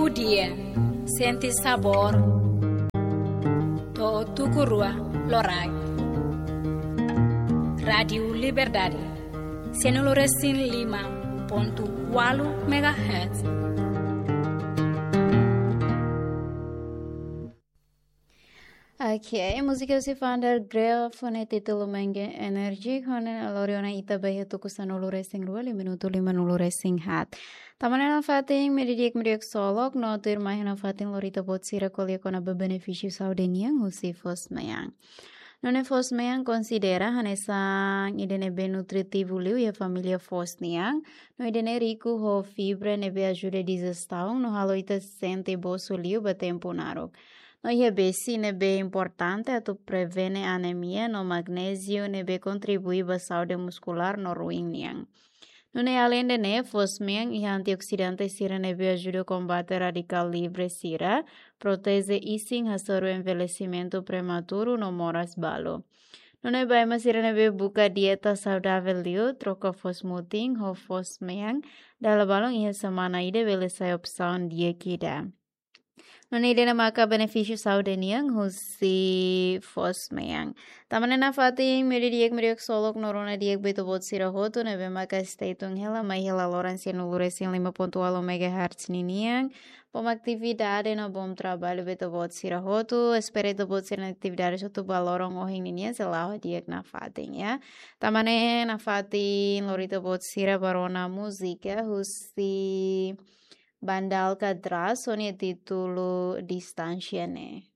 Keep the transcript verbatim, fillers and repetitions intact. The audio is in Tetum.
Dia, sente sabór. To'o tuku rua loraik. Rádiu Liberdade, sianulu resin lima pontu ualu megahertz. Oke, múzika husi Vander Graaf ho nia títulu Menge Energy, ho ne'e lori ona ita ba iha tuku sanulu resin rua, liu minutu limanulu resin haat. Tanba ne'e nafatin, meiudia di'ak, meiudia ksolok, no tuirmai iha nafatin lori ita-boot sira ko'alia kona-ba benefísiu saúde nian husi foos-mean. Nune'e foos-mean konsidera hanesan ida ne'ebé nutritivu liu iha família foos nian, no ida ne'e riku ho fibra ne'ebé ajuda dijestion, no halo ita sente bosu liu ba tempu naruk. No iha besik ne'ebé importante atu prevene anemia, no magnéziu ne'ebé kontribui ba saúde muskulár no ruin nian. Nune'e aleinde ne'e, foos-mean iha antioksidante sira ne'ebé ajuda kombate radikál livre sira, proteje isin hasoru envelhesimentu prematuru no moras balu. Nune'e ba ema sira ne'ebé buka dieta saudavel liu, troka foos-mutin ho foos-mean dala balun iha semana ida bele sai opsaun di'ak ida. Nune'e ida-ne'e maka benefísiu saúde nian husi foos-mean. Tanba ne'e nafatin, meiudia di'ak, meiudia ksolok, no rona di'ak ba ita-boot sira hotu ne'ebé maka stay tune hela mai hela loron sianulu resin lima pontu ualu megahertz ninian. Bom atividade no bom trabalho ba ita-boot sira hotu. Espera ita-boot sira-nia atividade hotu ba loron ohin ninian sei la'o di'ak nafatin, ya. Tanba ne'e nafatin lori ita-boot sira ba rona múzika husi Banda Alcatraz ho nia títulu Distánsia Ne'e.